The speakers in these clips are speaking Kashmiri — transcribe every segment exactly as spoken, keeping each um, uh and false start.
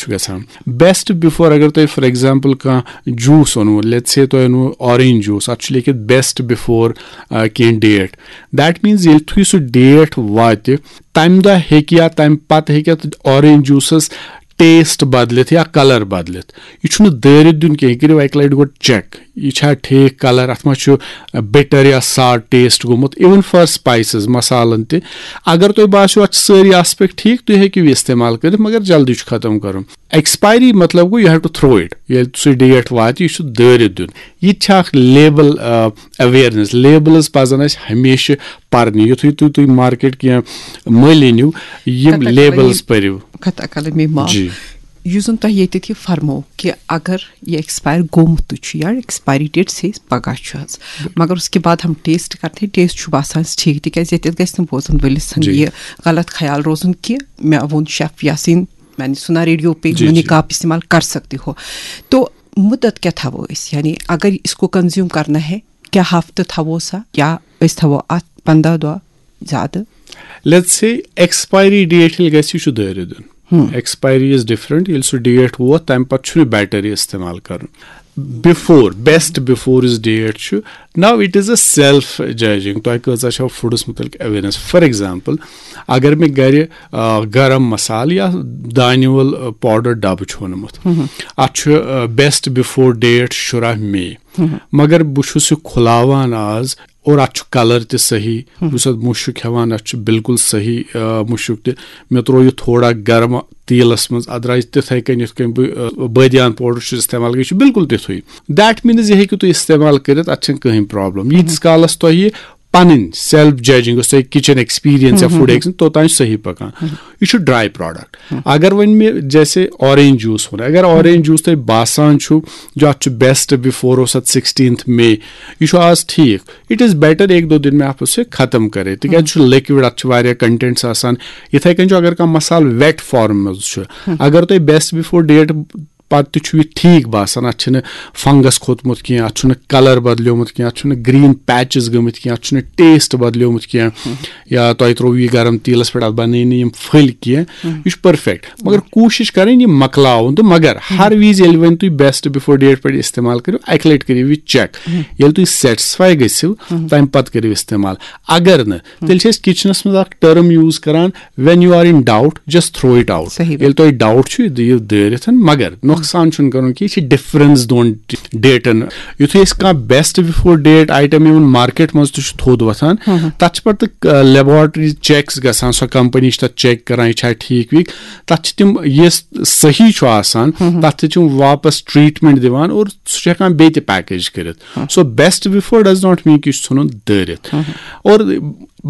چھُ گژھان۔ بیسٹ بِفور، اگر تۄہہِ فار ایگزامپل کانٛہہ جوٗس اوٚنوُ، لیٹس سے تۄہہِ اوٚنوُ آرینج جوٗس، اَتھ چھُ لیکھِتھ بیسٹ بِفور کینٛہہ ڈیٹ۔ دیٹ میٖنز ییٚلہِ تُہۍ سُہ ڈیٹ واتہِ، تَمہِ دۄہ ہیٚکہِ یا تَمہِ پَتہٕ ہیٚکہِ اَتھ آرینج جوٗسَس ٹیسٹ بدلِتھ یا کلر بدلِتھ۔ یہِ چھُنہٕ دٲرِتھ دیُن کینٛہہ، یہِ کٔرِو اَکہِ لَٹہِ گۄڈٕ چیک، یہِ چھا ٹھیٖک کلر، اَتھ ما چھُ بِٹر یا ساڑ ٹیسٹ گوٚمُت، اِوٕن فار سپایسز، مسالن تہِ۔ اگر تۄہہِ باسیو اَتھ چھِ سٲری آسپیکٹ ٹھیٖک، تُہۍ ہیٚکِو یہِ استعمال کٔرِتھ، مگر جلدی چھُ ختم کرُن۔ ایکسپایری مطلب گوٚو you have to throw it، ییٚلہِ سُہ ڈیٹ واتہِ، یہِ چھُ دٲرِتھ دیُن۔ یہِ تہِ چھِ اکھ لیبل اویرنس، لیبلز پزن اَسہِ ہمیشہِ پرنہِ۔ یُتھُے تُہۍ تُہۍ مارکیٹ کینٛہہ مٔلۍ أنِو، یِم کتھ اکھ لیبلز یِم پٔرِو۔ کتھ اکھ مےٚ معاف۔ جی۔ یُس زن تۄہہِ ییٚتٮ۪تھ یہِ فرمو کہِ اگر یہِ ایکسپایر گوٚمُت تہِ چھُ یا ایکسپایری ڈیٹ سے پگاہ چھُ حظ، مگر اس کے بعد ہم ٹیسٹ کرتے ہیں، ٹیسٹ چھُ باسان اَسہِ ٹھیٖک، تِکیازِ ییٚتٮ۪تھ گژھِ نہٕ بوزن وٲلِس ہن جی۔ یہِ غلط خیال روزُن کہِ مےٚ ووٚن شیف یاسین، میانہِ سُنا ریڈیو پہ جی، منی جی۔ کاپ استعمال کر سکتے ہو۔ تو مدت کیا تھاوو أسۍ، یعنی اگر اس کو کنزیوم کرنا ہے، کیا ہفتہٕ تھاوو سا یا أسۍ تھاوو اتھ پندہ دۄہ زیادٕ؟ لیٹس سے ایکسپایری ڈیٹ ییٚلہِ گژھِ، یہِ چھُ دٲرِتھ دیُن۔ ایکسپایری از ڈفرنٹ۔ ییٚلہِ سُہ ڈیٹ ووت، تمہِ پتہٕ چھُنہٕ بیٹر یہِ استعمال کرُن۔ بِفور، بیسٹ بِفور یُس ڈیٹ چھُ، now it is a self judging، تۄہہِ کۭژاہ چھو فوڈس مُتعلق اویرنس۔ فار ایگزامپل، اگر مےٚ گرِ آ، گرم مسالہٕ یا دانہِ وول، آ، پاوڈر ڈبہٕ چھُ اوٚنمُت، اتھ چھُ بیسٹ بِفور ڈیٹ شُراہ مے، مگر بہٕ چھُس یہِ کھُلاوان آز اور اتھ چھُ کلر تہِ صحیح، بہٕ چھُس اتھ مُشُک ہٮ۪وان، اتھ چھُ بالکل صحیح، آ، مُشُک تہِ۔ مےٚ تروو یہِ تھوڑا گرم تیٖلس منٛز، اتھ درٛاے تِتھے کٔنۍ یِتھ کٔنۍ بہٕ، آ، بٲدیان پاوڈر چھُس استعمال کران، یہِ چھُ بالکل تِتھُے۔ دیٹ میٖنز یہِ ہیٚکِو تُہۍ استعمال کٔرِتھ، اتھ چھنہٕ کٕہٕنۍ پرابلم۔ ییٖتِس کالس تۄہہِ یہِ پنٕنۍ سیلف ججنگ، یۄس تۄہہِ کچن ایکسپیرینس یا فوڈ ایکسپیرینس، توٚتام چھُ صحیح پکان۔ یہِ چھُ ڈراے پروڈکٹ۔ اگر وۄنۍ مےٚ جیسے آرینج جوٗس ووٚن، اگر آرینج جوٗس تۄہہِ باسان چھُ جو اتھ چھُ بیسٹ بِفور اوس اتھ سکسٹینتھ مے، یہِ چھُ آز ٹھیٖک، اٹ از بیٹر ایک دو دن میں آپ اسے ختم کرے، تِکیازِ یہِ چھُ لِکوِڈ، اتھ چھِ واریاہ کنٹینٹس آسان۔ یِتھے کٔنۍ چھُ اگر کانٛہہ مسالہٕ ویٹ فارم منٛز چھُ، اگر تۄہہِ بیسٹ بِفور ڈیٹ پتہٕ تہِ چھُ یہِ ٹھیٖک باسان، اتھ چھُنہٕ فنگس کھوٚتمُت کینٛہہ، اتھ چھُنہٕ کلر بدلیومُت کینٛہہ، اتھ چھُنہٕ گرین پیچز گٔمٕتۍ کینٛہہ، اتھ چھُنہٕ ٹیسٹ بدلیومُت کینٛہہ، یا تۄہہِ ترٛوو یہِ گرم تیٖلس پٮ۪ٹھ، اتھ بنٲے نہٕ یِم پھٔلۍ کینٛہہ، یہِ چھُ پٔرفیکٹ۔ مگر کوٗشش کرٕنۍ یہِ مۄکلاوُن تہٕ، مگر ہر وِزِ ییٚلہِ وۄنۍ تُہۍ بیسٹ بِفور ڈیٹ پٮ۪ٹھ استعمال کٔرِو، اکہِ لٹہِ کٔرِو یہِ چیک۔ ییٚلہِ تُہۍ سیٹسفاے گٔژھِو، تمہِ پتہٕ کٔرِو استعمال۔ اگر نہٕ، تیٚلہِ چھِ أسۍ کچنس منٛز اکھ ٹرم یوٗز کران، when you are in doubt, just throw it out۔ صحیح۔ ییٚلہِ تۄہہِ ڈاوُٹ چھُ، یہِ دِیِو دٲرِتھ، مگر نۄقصان چھُنہٕ کرُن کینٛہہ۔ یہِ چھِ ڈفرنس دۄن ڈیٹن۔ یُتھُے أسۍ کانٛہہ بیسٹ بِفور ڈیٹ آیٹم یِوان مارکیٹ منٛز تہِ چھُ تھوٚد وۄتھان، تتھ چھِ پتہٕ لیبارٹری چیکس گژھان، سۄ کمپنی چھِ تتھ چیک کران، یہِ چھا ٹھیٖک ویٖک۔ تتھ چھِ تِم، یہِ صحیح چھُ آسان، تتھ تہِ چھِ یِم واپس ٹریٹمنٹ دِوان اور سُہ چھُ ہٮ۪کان بیٚیہِ تہِ پیکیج کٔرِتھ۔ So best before does not mean کہِ یہِ چھُ ژھُنُن دٲرِتھ۔ اور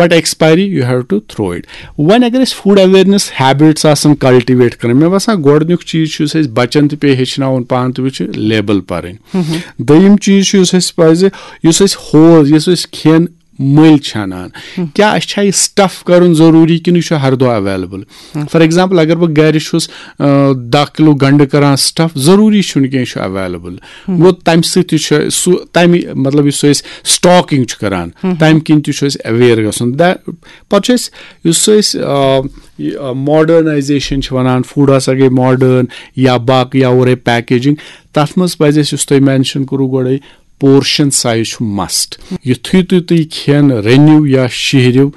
but expiry you have to throw it۔ وۄنۍ اگر أسۍ فوڈ اویرنس ہیبٹس آسن کلٹیویٹ کرٕنۍ، مےٚ باسان گۄڈٕنیُک چیٖز چھُ یُس اَسہِ بچن تہِ پیٚیہِ ہیٚچھناوُن پانہٕ تہِ وٕچھِ لیبل پرٕنۍ۔ دوٚیِم چیٖز چھُ یُس اَسہِ پزِ، یُس أسۍ ہوز، یُس أسۍ کھٮ۪ن مٔلۍ چھِ انان، کیٛاہ اَسہِ چھا یہِ سٹف کرُن ضروٗری کِنہٕ یہِ چھُ ہر دۄہ اویلیبل؟ فار ایگزامپل اگر بہٕ گرِ چھُس، آ، دَہ کِلوٗ گنڈٕ کران سٹف، ضروٗری چھُنہٕ کینٛہہ یہِ چھُ اویلیبل۔ گوٚو تمہِ سۭتۍ تہِ چھُ سُہ، تمہِ مطلب یُس أسۍ سٹاکنگ چھُ کران، تمہِ کِنۍ تہِ چھُ اَسہِ اویئر گژھُن۔ پتہٕ چھُ اَسہِ، یُس أسۍ، آ، یہِ، آ، ماڈرنائزیشن چھِ ونان، فوڈ ہسا گٔے ماڈرن یا باقٕے یا اورے پیکیجنگ، تتھ منٛز پزِ اَسہِ، یُس تۄہہِ مینشن کوٚروٕ گۄڈے، پورشن سایز چھُ مسٹ۔ یُتھُے تُہۍ تُہۍ کھٮ۪ن رٔنِو یا شیہرِو،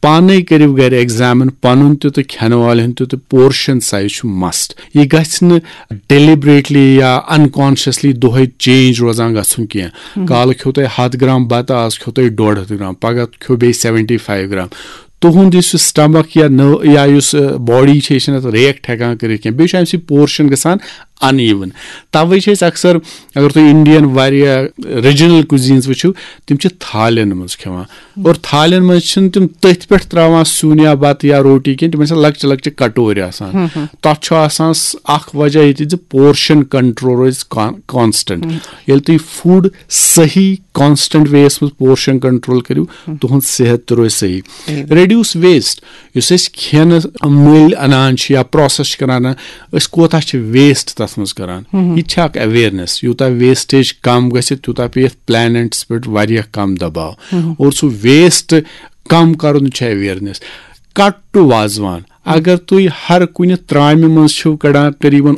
پانے کٔرِو گرِ ایگزامن پنُن تہِ تہٕ کھٮ۪ن والٮ۪ن تہِ، تہٕ پورشن سایز چھُ مسٹ۔ یہِ گژھِ نہٕ ڈیلیبریٹلی یا انکانشیسلی دۄہے چینج روزان گژھُن کینٛہہ۔ کالہٕ کھیوٚو تۄہہِ ہتھ گرام بتہٕ، آز کھیوٚو تۄہہِ ڈۄڈ ہتھ گرام، پگاہ کھیوٚو بیٚیہِ سیونٹی فایو گرام۔ تُہُنٛد یُس یہِ سٹمک یا نٔو یا یُس، آ، باڈی چھِ، یہِ چھِنہٕ اَتھ ریکٹ ہٮ۪کان کٔرِتھ کینٛہہ۔ بیٚیہِ چھُ اَمہِ سۭتۍ پورشن گژھان ان ایون۔ توے چھِ أسۍ اکثر، اگر تُہۍ انڈین واریاہ ریجنل کُزینز وٕچھِو، تِم چھِ تھالٮ۪ن منٛز کھٮ۪وان۔ اور تھالٮ۪ن منٛز چھِنہٕ تِم تٔتھۍ پٮ۪ٹھ تراوان سیُن یا بتہٕ یا روٹی کینٛہہ، تِمن چھِ لۄکچہِ لۄکچہِ کٹورِ آسان۔ تتھ چھُ آسان س-، اکھ وجہ ییٚتہِ زِ پورشن کنٹرول روزِ کان-، کانسٹنٹ۔ ییٚلہِ تُہۍ فوڈ صحیح کانسٹنٹ وے یس منٛز پورشن کنٹرول کٔرِو، تُہُنٛد صحت تہِ روزِ صحیح۔ ریڈیوس ویسٹ، یُس أسۍ کھٮ۪نہٕ مٔلۍ انان چھِ یا پروسیس چھِ کران، أسۍ کوتاہ چھِ ویسٹ تتھ منٛز کران؟ یہِ تہِ چھِ اکھ اویرنس۔ یوٗتاہ ویسٹیج کم گژھِ، تیوٗتاہ پیٚیہِ یتھ پلینٹس پٮ۪ٹھ واریاہ کم دباو۔ اور سُہ ویسٹ کم کرُن چھِ اویرنس۔ Cut to wazwan. اگر تُہۍ ہر کُنہِ ترامہِ منٛز چھِو کڑان تقریباً